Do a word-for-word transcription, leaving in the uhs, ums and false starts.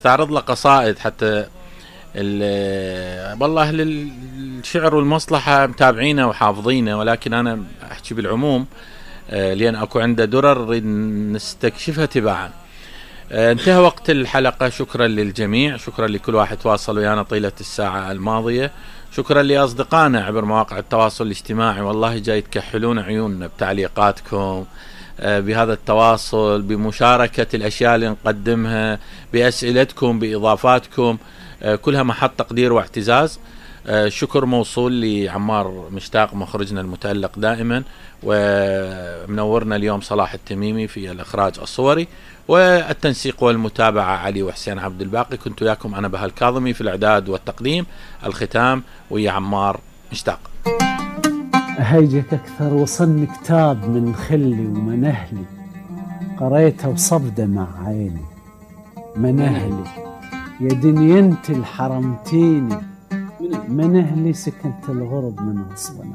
استعرض له قصائد حتى والله اهل الشعر والمصلحه متابعينه وحافظينه، ولكن انا احكي بالعموم لان اكو عنده درر نريد نستكشفها تباعا. انتهى وقت الحلقه، شكرا للجميع، شكرا لكل واحد تواصل ويانا طيله الساعه الماضيه، شكرا لاصدقائنا عبر مواقع التواصل الاجتماعي، والله جاي تكحلون عيوننا بتعليقاتكم، بهذا التواصل، بمشاركة الأشياء اللي نقدمها، بأسئلتكم، بإضافاتكم، كلها محط تقدير واعتزاز. شكر موصول لعمار مشتاق مخرجنا المتألق دائما، ومنورنا اليوم صلاح التميمي في الإخراج الصوري، والتنسيق والمتابعة علي وحسين عبد الباقي. كنت وياكم أنا بهاء الكاظمي في الإعداد والتقديم، الختام ويا عمار مشتاق. أهيجك أكثر وصلني كتاب من خلي ومنهلي، قريته وصب دمع عيني. منهلي يا دنيا انت الحرمتيني، منهلي سكنت الغرب من غصب عني.